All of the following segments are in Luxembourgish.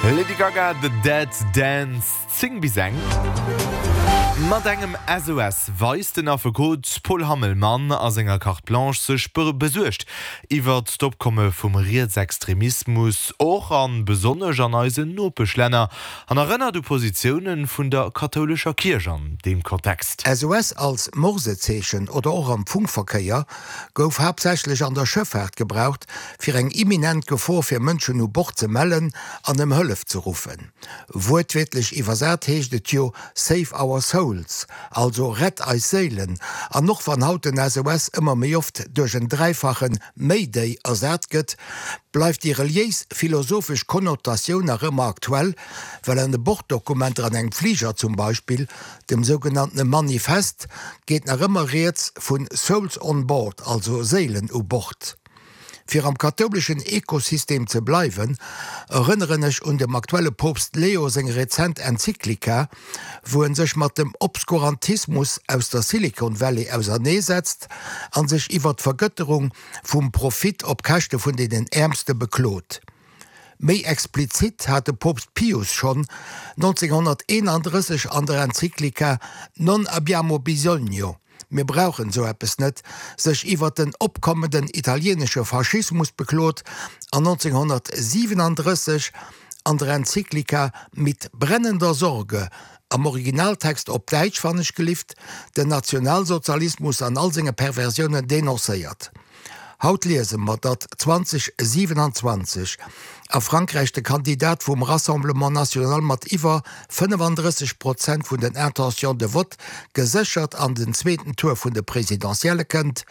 Lady Gaga, The Dead Dance, 10 bis eng. Mat engem SOS weist den Affekot Paul Hammelmann a senger Carte Blanche sech besuergt iwwert d'Opkomme vum Rietsextremismus, och a besonnesch an eisen Nopeschlänner, an erënnert u Positioune vun der kathoulescher Kierch an deem Kontext. SOS als Morsezeechen oder och am Funkverkéier gouf haaptsächlech an der Schëffaart gebraucht, fir eng imminent Gefor fir Mënschen u Bord ze mellen an ëm Hëllef ze ruffen. Wuertwiertlech iwwersat heescht et jo Save our souls, also Rett eis Séilen. An och wann haut den SOS ëmmer méi oft duerch en dräifache Mayday ersat gëtt, bleift déi reliéis-philosophesch Konnotatioun nach ëmmer aktuell, well an de Borddokumenter an engem Fliger zum Beispill, dem sougenanntene Manifest, geet nach ëmmer rieds vu Souls on board, also Séilen u Bord. Fir am kathouleschen Ekosystem ze bleiwen, erënneren ech un dem aktuelle Poopst Leo seng rezent Enzyklika, wou en sech mat dem Obskurantismus aus der Silicon Valley auserneesetzt an sech iwwer d'Vergëtterung vum Profit op Käschte vun deenen Äermste beklot. Méi explizit hat de Poopst Pius schonn 1931 an der Enzyklika Non abbiamo bisogno, Mir brauchen esou eppes net, sech iwwer den opkommenden italienesche Faschismus beklot an 1937 an der Enzyklika Mit brennender Sorge, am Originaltext op Däitsch, wann ech gelift, den Nationalsozialismus an all senge Perversiounen denoncéiert. Haut liese mer, datt 2027 a Frankräich de Kandidat vum Rassemblement National mat iwwer 35 Prozent vun den Intentions de vote geséchert an den zweeten Tour vun de Presidentielle kënnt,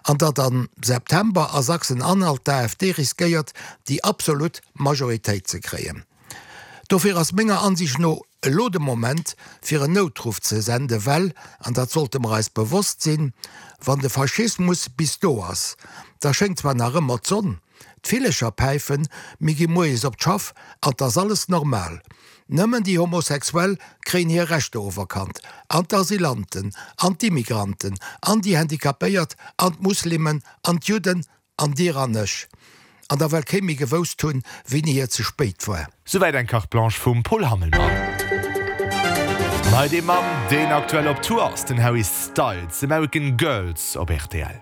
an datt am September a Sachsen-Anhalt d'AfD riskéiert, déi absolut Majoritéit ze kréien. Dofir ass menger Ansicht no elo de Moment, fir en Noutruff ze senden, well, an dat sollte mer eis bewosst sinn, wann de Faschismus bis do ass, da schéngt zwar nach ëmmer d'Sonn, d'Villecher päifen, mir gi moies op d'Schaff an 't ass alles normal. Nëmmen déi Homosexuell kréien hir Rechter oferkannt, an d'Asylanten, an d'Immigranten, an déi Handicapéiert, an d'Muslimen, an d'Judden, An dir an ech. An da well kee méi gewousst hunn, wéini et ze spéit war. Souwäit eng Carte Blanche vum Paul Hammelmann. An hei dee Mann, deen aktuell op Tour ass, den Harry Styles, American Girls op rtl.